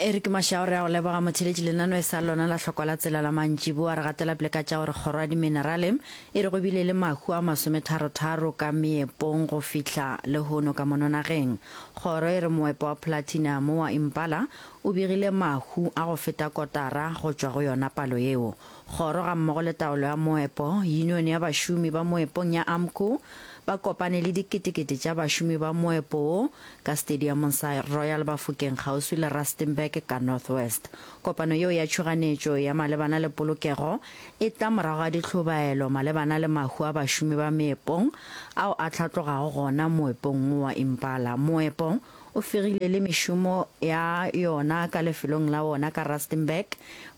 Eric Mashao re a go leboga motheletši lenano e sa lona la hlokwa la tsela la mantšiboa re gatela pele ka tša gore kgoro ya diminerale e re go bile le mahu a masometharotharo ka meepong go fihla lehono ka mono nageng. Kgoro e re moepo wa platinum wa Impala o begile mahu a go feta kotara go tšwa go yona palo yeo. Kgoro gammogo le taolo ya moepo, Yunione ya Bašomi ba Moepong ya AMCU, ba kopane le diketekete tša bašomi ba moepo wo ka stadiamong sa Royal Bafokeng kgauswi le Rustenburg ka North West. Kopano yeo ya tšhoganetšo ya malebana le polokego e tla morago ga dihlobaelo malebana le mahu a bašomi ba meepong ao a hlatlogago gona moepong wo wa Impala. Moepo o fegile le mešomo ya yona ka lefelong la wona ka Rustenburg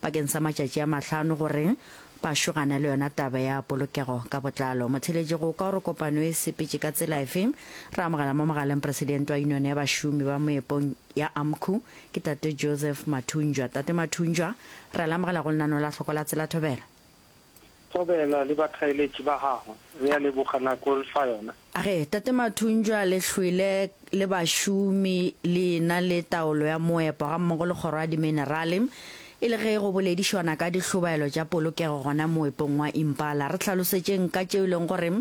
bakeng sa matšatši a mahlano gore ba šogane le yona taba ya polokego ka botlalo. Motheeletši go kwa gore kopano e sepetše ka tsela efe, re amogela mo mogaleng Presidente wa Yunione ya Bašomi ba Moepong ya AMCU, ke Tate Joseph Mathunjwa. Tate Mathunjwa, re a le amogela go lenaneo la Hloko la Tsela Thobela. Thobela le bathaeletši ba gago, re a leboga nako re fa yona. A re, Tate Mathunjwa le hlwele le bašomi le ena le taolo ya moepo gammogo le kgoro ya diminerale e le ge go boledišwana ka dihlobaelo tša polokego gona moepong wa Impala. Re hlalosetšeng ka tšeo e leng gore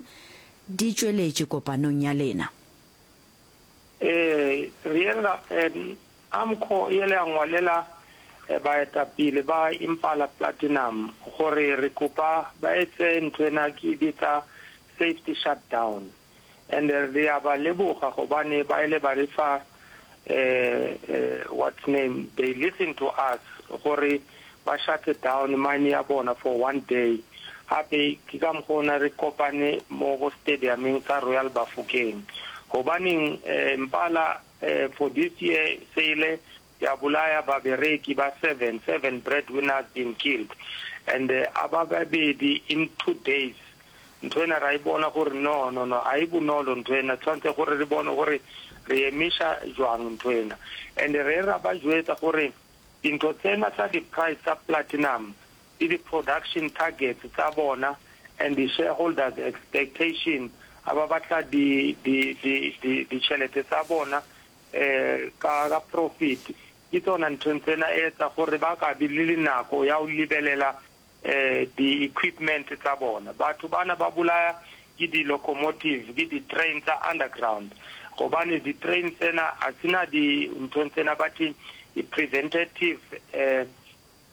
di tšweletše kopanong ya lena. Ee, re yela, AMCO e ile ya ngwalela baetapele ba Impala Platinum gore re kopa ba etse ntho ena ke e bitsa safety shutdown and re a ba leboga gobane ba ile ba re fa what's name they listen to us gore ba shut down mine ya bona for one day gape ke ka mokgwa ona re kopane mo go stadiumeng sa Royal Bafokeng gobaneng Impala For this year se ile ya bolaya babereki ba seven, seven breadwinners been killed and a ba babedi in two days. Ntho ena ra e bona gore no, no, no, a e bonolo ntho ena, tshwantse gore re bone gore re emiša jwang ntho ena. And re ra ba jwetsa gore dintho tsena tsa di price tsa platinum le di production targets tsa bona and di shareholders expectation a ba batla di di di di ditšhelete tsa bona eh ka ka profit ke tsona nthong tsena e etsa gore ba ka be le le nako ya ho lebelela eh di equipment tsa bona. Batho bana ba bolaya ke di locomotive ke di train tsa underground gobane di train tsena a sena di nthong tsena ba thi preventative eh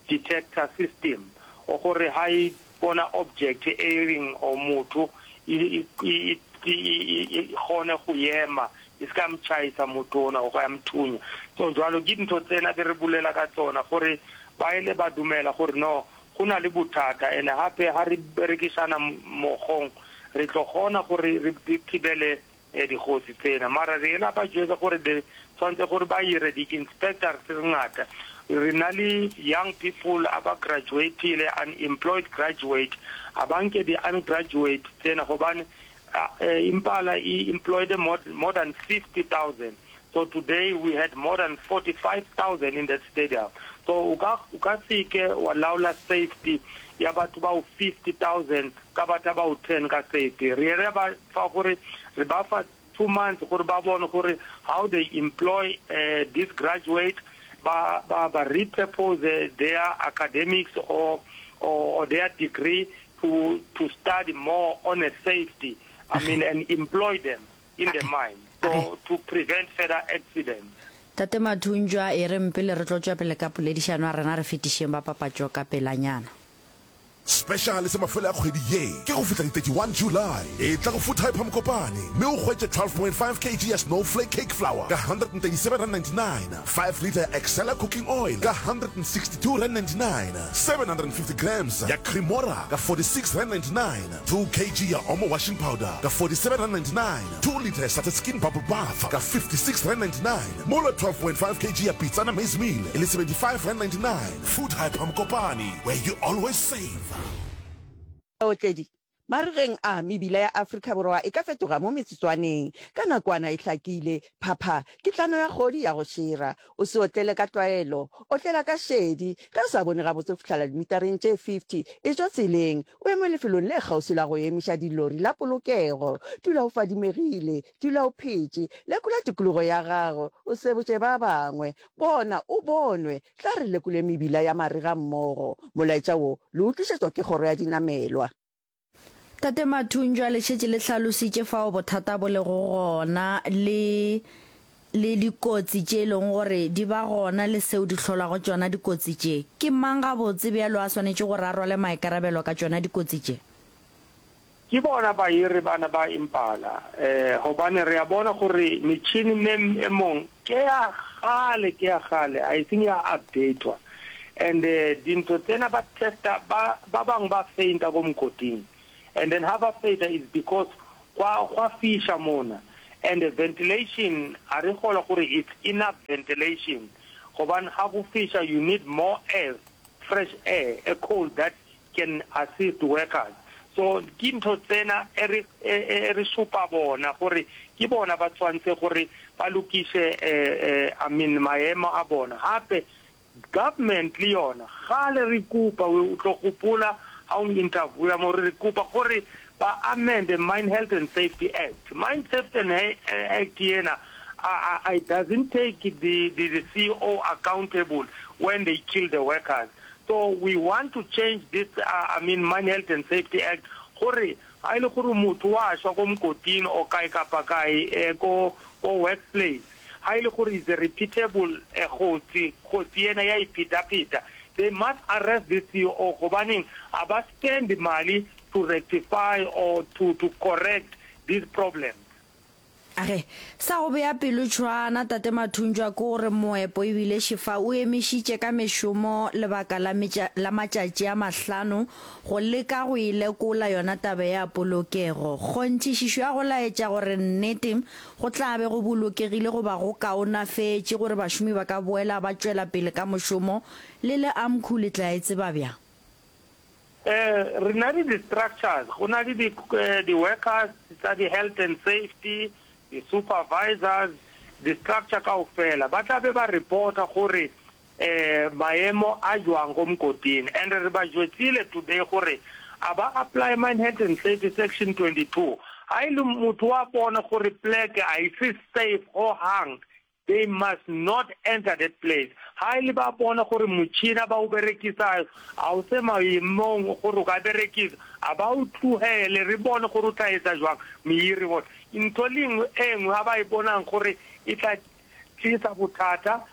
detector system o gore ha e bona object e reng or motho e e e kgone go ema e se ka mchaisa motho ona go ya mthunya. So jwalo ke dintho tsena be re bolela ka tsona gore ba ile ba dumela gore no go na le bothata ene hape ha re berekisana mogong re tlo kgona gore re thibele dikgosi tsena. Mara re ela ba jwetsa gore be tshwantse gore ba ire di inspector tse ngata. Re na le young people a ba graduatile, unemployed graduate, a ba nke di ungraduate tsena gobane Impala e employed more, more than 50,000. So today we had more than 45,000 in that stadium. So o ka o ka seke wa laola safety ya batho bao 50,000 ka batho ba o 10 ka safety. Re re ba fa gore re ba fa 2 months gore ba bone gore how they employ uh, this graduate ba ba ba repurpose their academics or or, or their degree to to study more on a safety I mean and employ them in the mine so to prevent further accidents. Tate Mathunjwa, e reng pele re tlo tšwa pele ka poledišano ya rena re fetišeng ba papatšo ka pelanyana. Special sa mafelo a kgwedi ye ke go fihla di 31 July. Etla go Food Hyper Mokopane mme o hwetše 12.5 kg ya Snowflake Cake Flour ka R137.99, 5 litre ya Excella Cooking Oil ka R162.99, 750 grams ya Cremora ka R46.99, 2 kg ya Omo Washing Powder ka R47.99, 2 litre ya Satin Skin Bubble Bath ka R56.99, mola 12.5 kg ya Pitsana Maize Meal e le R75.99. Food Hyper Mokopane, where you always save. Baotledi. Marigeng a, mebila ya Afrika Borwa e ka fetoga mo metsotswaneng. Ka nakwana e hlakile, phapha, ke tlano ya kgodi ya go šera. O se otlele ka tlwaelo, otlela ka šedi. Ge o sa bone gabotse go fihlela dimitareng tše 50, etšwa tseleng, o eme lefelong le kgauswi la go emiša dilori la polokego. Dula o fadimegile, dula o phetše. Lekola tikologo ya gago, o sebotše ba bangwe. Bona, o bonwe. Tla re lekole mebila ya marega mmogo. Molaetša wo le o tlišetšwa ke Kgoro ya Dinamelwa. Tate Mathunjwa, le šetše le hlalositše fao bothata bo lego gona le le dikotsi tše e lego gore di ba gona le seo di hlolwago tšona dikotsi tše. Ke mang gabotse bjalo a swanetše gore a rwale maikarabelo ka tšona dikotsi tše? Ke bona bahiri bana ba Impala, eh, hobane re a bona gore metšhini me e mong ke ya kgale, ke ya kgale, a e seng ya updatwa. And dintho tsena ba testa, ba, ba bang ba fainta ko mokoting. And then ha ba fainta is because gwa, gwa fiša mona. And ventilation, a re kgolwa gore it's enough ventilation, gobane ha go fiša you need more air, fresh air, a cold that can assist workers so ke ntho tsena e re e re supa bona gore ke bona ba tshwantse gore ba lokise I mean maemo a bona hape government le yona gale re kopa o tlo gopola ha o interviewa mo re kopa gore ba amend the Mine Health and Safety Act Mine Safety and Act yena it doesn't take the, the, the CEO accountable when they kill the workers So we want to change this I mean Mine Health and Safety Act gore ga e le gore motho wa shwa ko mokoting or kae kapa kae eh, ko ko workplace ga e le gore is a repeatable eh, kgotsi kgotsi ena ya iphetapheta they must arrest this CEO gobaneng a ba spend mali to rectify or to to correct these problems. A re, Sa go bea pelo tšhwaana, Tate Mathunjwa, ke gore moepo e bile Šefa o emišitše ka mešomo lebaka la metša, la matšatši a mahlano go leka go e lekola yona taba ya polokego. Kgonthišišo ya go laetša gore nnete go tla be go bolokegile goba go kaonafetše gore bašomi ba ka boela ba tšwela pele ka mošomo, le le AMCU le tla e tseba bjang? Eh, re na le di-structures, go na le di-workers tsa di-health and safety, di-supervisors, di-structure kaofela. Ba tla be ba reporta gore eh maemo a jwang ko mokoting. And re ba jwetsile today gore a ba apply Mine Health and Safety Section 22. Ha e le motho wa bona gore pleke a e se safe hohang, They must not enter that place. Ha e le ba bona gore motšhina ba o berekisayo a o se maemong gore o ka berekisa, a ba o tlohele re bone gore o tla etsa jwang. Mohiri bona ntho le nngwe e nngwe ha ba e bonang gore e tla tlisa bothata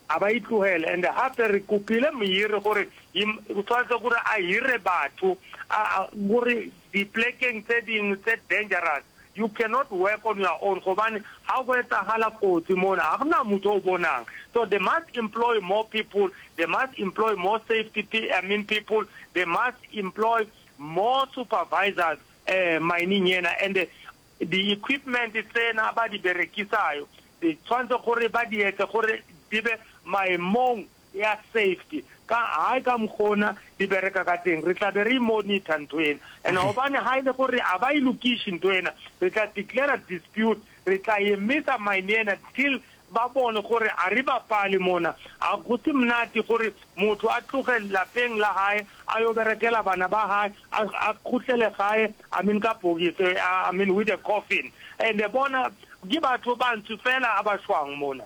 a ba e tlohele. And hape re kopile mohiri gore o tshwanetse gore a hire batho a gore diplekeng tse dingwe tse dangerous You cannot work on your own gobane ha go etsahala kotsi mona ha gona motho o bonang. So they must employ more people, they must employ more safety I mean people, they must employ more supervisors eh mining ena and di equipment tsena ba di berekisayo di tshwantse gore ba di etse gore di be maemong ya safety ka hae ka mokgona di bereka ka teng re tla be re monitor ntho ena and hobane ha ile gore a ba e lokiše ntho ena re tla declare dispute re tla emisa mine ena till ba bone gore a re bapale mona a go se monate gore motho a tloge lapeng la hae a yo berekela bana ba hae a kgutlele gae I mean ka bokisi I mean with a coffin and bona ke batho bantsho fela a ba shwang mona.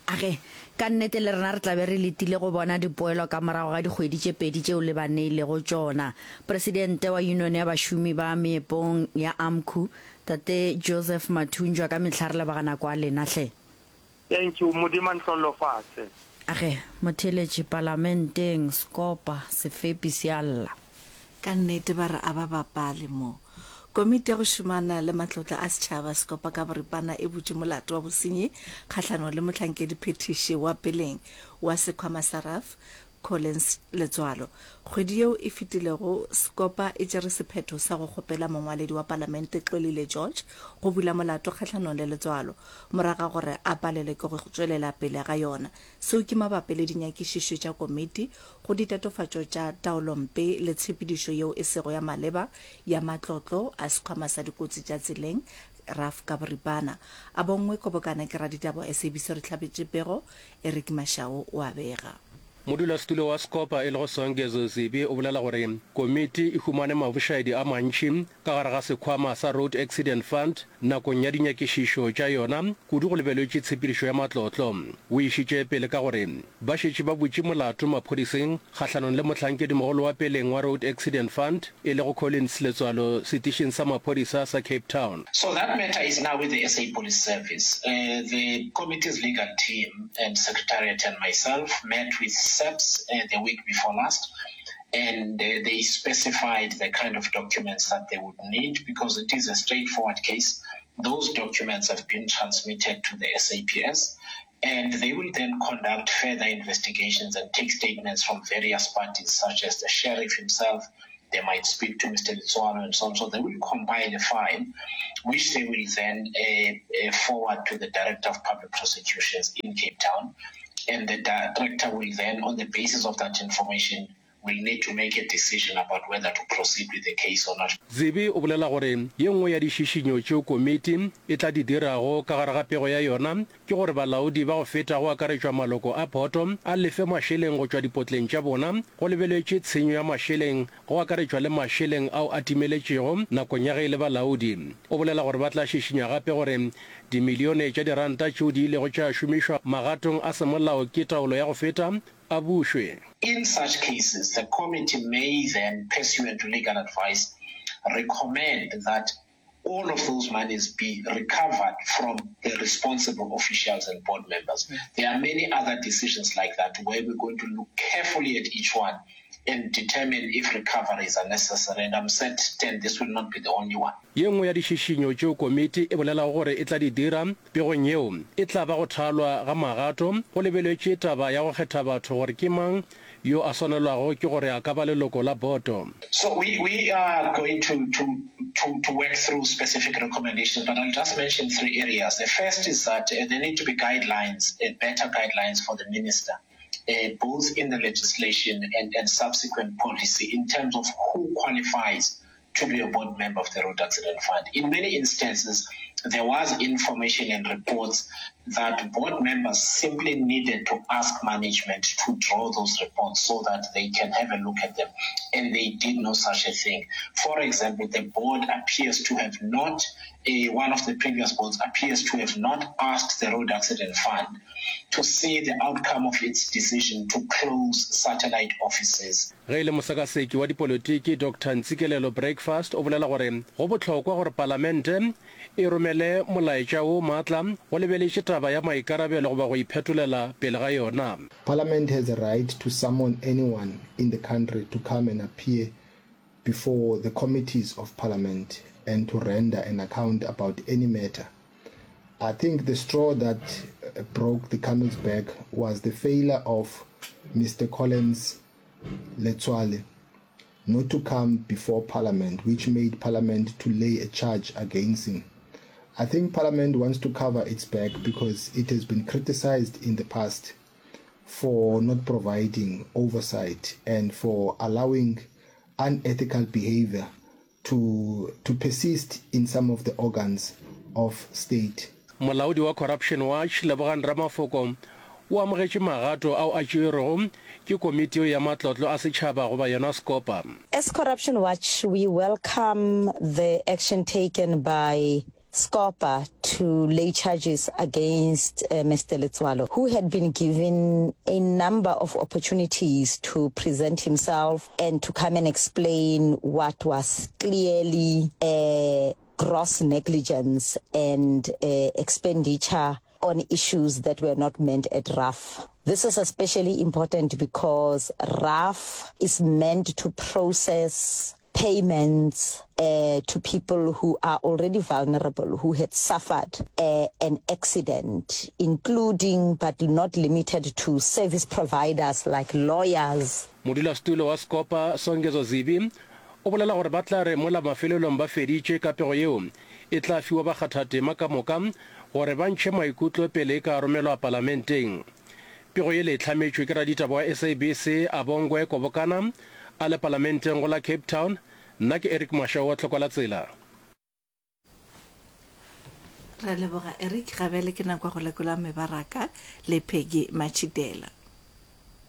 A re, Ka nnete le rena re tla be re letile go bona dipoelo ka morago ga dikgwedi tše pedi tšeo le ba neilego tšona. Presidente wa Yunione ya Bašomi ba Meepong ya AMCU, Tate Joseph Mathunjwa, ka mehla re leboga nako ya lena hle. Thank you, Modimo a nhlollofatse. A re, Motheeletši, Palamenteng, Sekopa, sefepi se a lla. Ka nnete ba re a ba bapale mo. Komiti ya go šomana le matlotla a setšhaba Sekopa ka boripana e butše molato wa bosenyi kgahlanong le mohlankedi phethiši wa peleng wa sekhwama sa RAF. Collins Letsoalo. Kgwedi yeo e fetilego, Scopa e tšere sephetho sa go kgopela mongwaledi wa palamente Xolile George go bula molato kgahlanong le Letsoalo morago ga gore a palelwe ke go tšwelela pele ga yona. Seo ke mabapi le dinyakišišo tša komiti go ditatofatšo tša taolompe le tshepedišo yeo e sego ya maleba ya matlotlo a Sekhwama sa Dikotsi tša Tseleng, RAF ka boripana. A bonngwe kobokana ke raditaba wa SABC re hlabetše pego, Eric Mashau o a bega. Modulasetulo wa Scopa e lego Songezo Zibi o bolela gore komiti e humane mabošaedi a mantši ka gare ga sekhwama sa Road Accident Fund nakong ya dinyakišišo tša yona, kudu go lebeletše tshepedišo ya matlotlo. O išitše pele ka gore ba šetše ba butše molato maphodiseng kgahlanong le mohlankedimogolo wa peleng wa Road Accident Fund e lego Collins Letswalo setišing sa maphodisa sa Cape Town. So that matter is now with the SA Police Service. The committee's legal team and secretariat and myself met with SAPS the week before last and they specified the kind of documents that they would need because it is a straightforward case. Those documents have been transmitted to the SAPS and they will then conduct further investigations and take statements from various parties such as the sheriff himself, they might speak to Mr. Letsoalo and so on. So they will compile a file, which they will then uh, uh, forward to the Director of Public Prosecutions in Cape Town. And the director will then, on the basis of that information, will need to make a decision about whether to proceed with the case or not. Zibi o bolela gore ye nngwe ya dišišinyo tšeo komiti e tla di dirago ka gare ga pego ya yona ke gore balaodi ba go feta go akaretšwa maloko a boto a lefe mašeleng go tšwa dipotleng tša bona go lebeletše tshenyo ya mašeleng go akaretšwa le mašeleng ao a timeletšego nakong ya ge e le balaodi. O bolela gore ba tla šišinya gape gore dimilione tša diranta tšeo di ilego tša šomišwa magatong a semolao ke taolo ya go feta a bušwe. In such cases, the committee may then, pursuant to legal advice, recommend that all of those monies be recovered from the responsible officials and board members. There are many other decisions like that where we're going to look carefully at each one and determine if recoveries are necessary, and I'm certain this will not be the only one. Ye nngwe ya dišišinyo tšeo komiti e bolelago gore e tla di dira pegong yeo e tla ba go thalwa ga magato go lebeletše taba ya go kgetha batho gore ke mang yo a swanelwago ke gore a ka ba leloko la boto. So we, we are going to, to, to, to work through specific recommendations, but I'll just mention three areas. The first is that uh, there need to be guidelines, uh, better guidelines for the minister. Uh, both in the legislation and, and subsequent policy in terms of who qualifies to be a board member of the Road Accident Fund. In many instances, there was information and reports that board members simply needed to ask management to draw those reports so that they can have a look at them. And they did no such a thing. For example, the board appears to have not, uh, one of the previous boards appears to have not asked the Road Accident Fund to see the outcome of its decision to close satellite offices. Ge e le mosekaseki wa dipolotiki Doctor Ntsikelelo Breakfast o bolela gore go bohlokwa gore palamente e romele molaetša wo maatla go lebeletše taba ya maikarabelo goba go iphetolela pele ga yona. Parliament has a right to summon anyone in the country to come and appear before the committees of parliament and to render an account about any matter. I think the straw that broke the camel's back was the failure of Mr Collins Letsoale not to come before parliament, which made parliament to lay a charge against him. I think parliament wants to cover its back because it has been criticized in the past for not providing oversight and for allowing unethical behavior to, to persist in some of the organs of state. Molaodi wa Corruption Watch, Lebogang Ramafoko, o amogetše magato ao a tšeerwego ke komiti yeo ya matlotlo a setšhaba goba yona Scopa. As Corruption Watch, we welcome the action taken by Scopa to lay charges against Mister Letsoalo, who had been given a number of opportunities to present himself and to come and explain what was clearly a gross negligence and expenditure on issues that were not meant at RAF. This is especially important because RAF is meant to process. payments uh, to people who are already vulnerable, who had suffered uh, an accident, including but not limited to service providers like lawyers. Modulasetulo wa Scopa, Songezo Zibi, o bolela gore ba tla re mola mafelelong ba feditše ka pego yeo e tla fiwa bakgathatema ka moka gore ba ntšhe maikutlo pele e ka romelwa palamenteng. Pego yele e hlametšwe ke raditaba wa SABC Abongwe Kobokana a le palamenteng go la Cape Town. Nna ke Eric Mashau wa Tlhokwa la Tsela. Re a leboga Eric, ga bjale ke nako ya go lekola mebaraka le Peggy Matšhitela.